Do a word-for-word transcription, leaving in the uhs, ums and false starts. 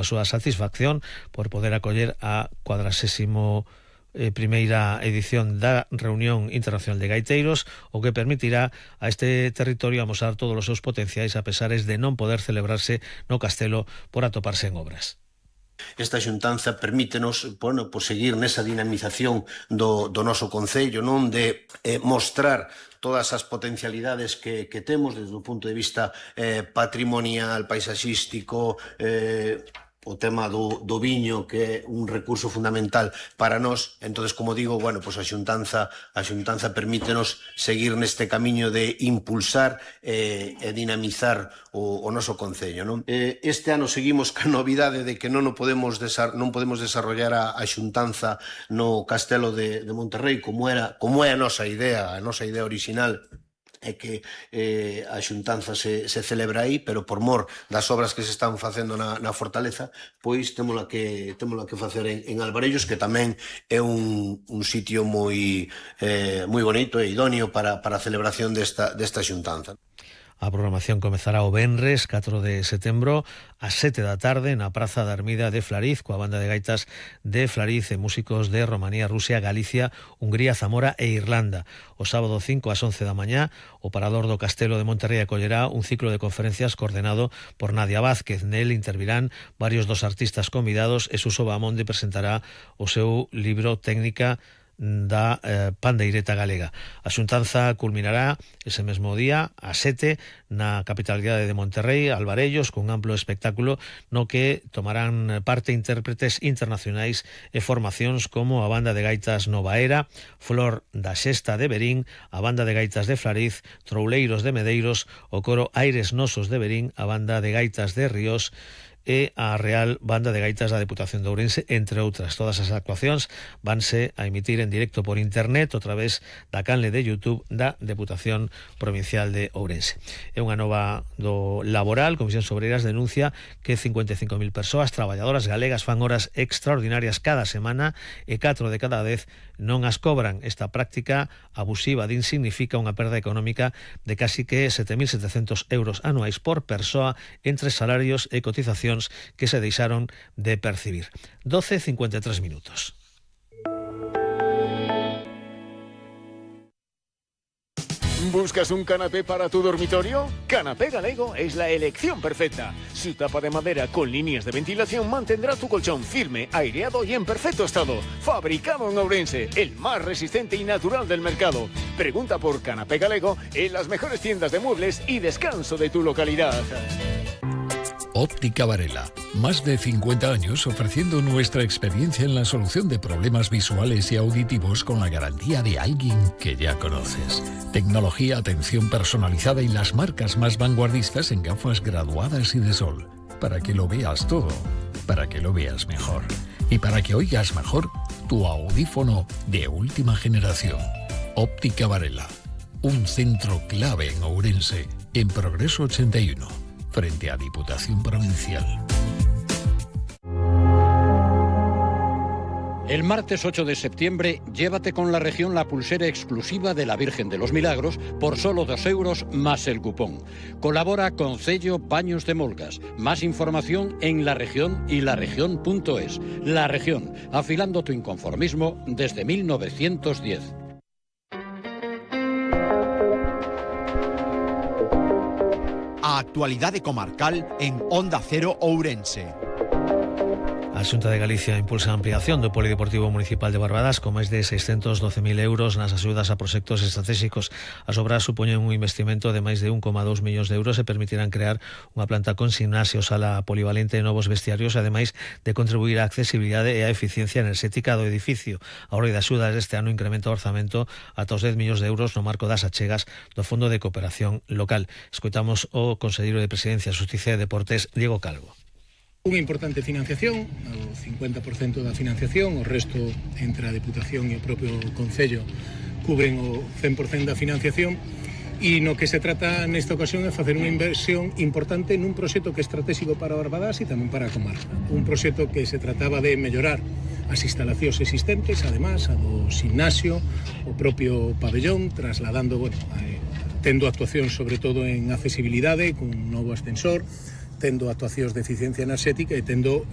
a súa satisfacción por poder acoller a cuadragésimo eh, primeira edición da Reunión Internacional de Gaiteiros, o que permitirá a este territorio amosar todos os seus potenciais a pesares de non poder celebrarse no castelo por atoparse en obras. Esta xuntanza permítenos, bueno, pues seguir nesa dinamización do, do noso concello, non de eh, mostrar todas as potencialidades que, que temos desde o punto de vista eh, patrimonial, paisaxístico, eh, o tema do, do viño, que é un recurso fundamental para nós. Entonces, como digo, bueno, pues a xuntanza a xuntanza permítenos seguir neste camiño de impulsar eh, e dinamizar o, o noso concello, non? Eh, este ano seguimos ca novidade de que non o podemos desar, non podemos desarrollar a, a xuntanza no Castelo de, de Monterrey como era como é a nosa idea, a nosa idea original é que eh, a xuntanza se, se celebra aí, pero por mor das obras que se están facendo na, na fortaleza, pois témola que, témola que facer en, en Alvarellos, que tamén é un, un sitio moi, eh, moi bonito e idóneo para, para a celebración desta, desta xuntanza. A programación comezará o venres catro de setembro ás sete da tarde na Praza da Ermida de Flariz, coa banda de gaitas de Flariz e músicos de Romanía, Rusia, Galicia, Hungría, Zamora e Irlanda. O sábado cinco ás once da mañá, o Parador do Castelo de Monterrey acollerá un ciclo de conferencias coordenado por Nadia Vázquez. Nel intervirán varios dos artistas convidados e Suso Bahamonde presentará o seu libro Técnica da eh, pandeireta galega. A xuntanza culminará ese mesmo día a sete na capitalidade de Monterrey, Alvarellos, cun amplo espectáculo no que tomarán parte intérpretes internacionais e formacións como a banda de gaitas Nova Era, Flor da Xesta de Verín, a banda de gaitas de Flariz, Trouleiros de Medeiros, o coro Aires Nosos de Verín, a banda de gaitas de Ríos e a Real Banda de Gaitas da Deputación de Ourense, entre outras. Todas as actuacións vanse a emitir en directo por internet a través da canle de YouTube da Deputación Provincial de Ourense. É unha nova do laboral. Comisión Obreiras denuncia que cincuenta e cinco mil persoas traballadoras galegas fan horas extraordinarias cada semana e catro de cada dez non as cobran. Esta práctica abusiva din significa unha perda económica de casi que sete mil setecentos euros anuais por persoa entre salarios e cotizacións que se deixaron de percibir. doce e cincuenta e tres minutos. ¿Buscas un canapé para tu dormitorio? Canapé Galego es la elección perfecta. Su tapa de madera con líneas de ventilación mantendrá tu colchón firme, aireado y en perfecto estado. Fabricado en Ourense, el más resistente y natural del mercado. Pregunta por Canapé Galego en las mejores tiendas de muebles y descanso de tu localidad. Óptica Varela, más de cincuenta años ofreciendo nuestra experiencia en la solución de problemas visuales y auditivos con la garantía de alguien que ya conoces. Tecnología, atención personalizada y las marcas más vanguardistas en gafas graduadas y de sol. Para que lo veas todo, para que lo veas mejor. Y para que oigas mejor tu audífono de última generación. Óptica Varela, un centro clave en Ourense, en Progreso ochenta y uno. Frente a Diputación Provincial. El martes ocho de septiembre, llévate con la región la pulsera exclusiva de la Virgen de los Milagros por solo dos euros más el cupón. Colabora con Cello Paños de Molgas. Más información en La Región y laregión punto es. La Región, afilando tu inconformismo desde mil novecientos diez. A actualidade comarcal en Onda Cero Ourense. A Xunta de Galicia impulsa a ampliación do Polideportivo Municipal de Barbadas con máis de seiscentos doce mil euros nas axudas a proxectos estratégicos. As obras supoñen un investimento de máis de un coma dous millóns de euros e permitirán crear unha planta con gimnasio, sala polivalente e novos vestiarios, ademais de contribuir á accesibilidade e á eficiencia enerxética do edificio. A orde de axudas deste ano incrementa o orzamento ata os dez millóns de euros no marco das achegas do Fondo de Cooperación Local. Escoitamos o conselleiro de Presidencia, Xusticia e Deportes, Diego Calvo. Unha importante financiación, o cincuenta por cento da financiación, o resto entre a Deputación e o propio Concello cubren o cen por cento da financiación, e no que se trata nesta ocasión é facer unha inversión importante nun proxecto que é estratégico para Barbadas e tamén para a comarca. Un proxecto que se trataba de mellorar as instalacións existentes, además, a do gimnasio, o propio pabellón, trasladando, bueno, eh, tendo actuación sobre todo en accesibilidade, con un novo ascensor, tendo actuacións de eficiencia enerxética e tendo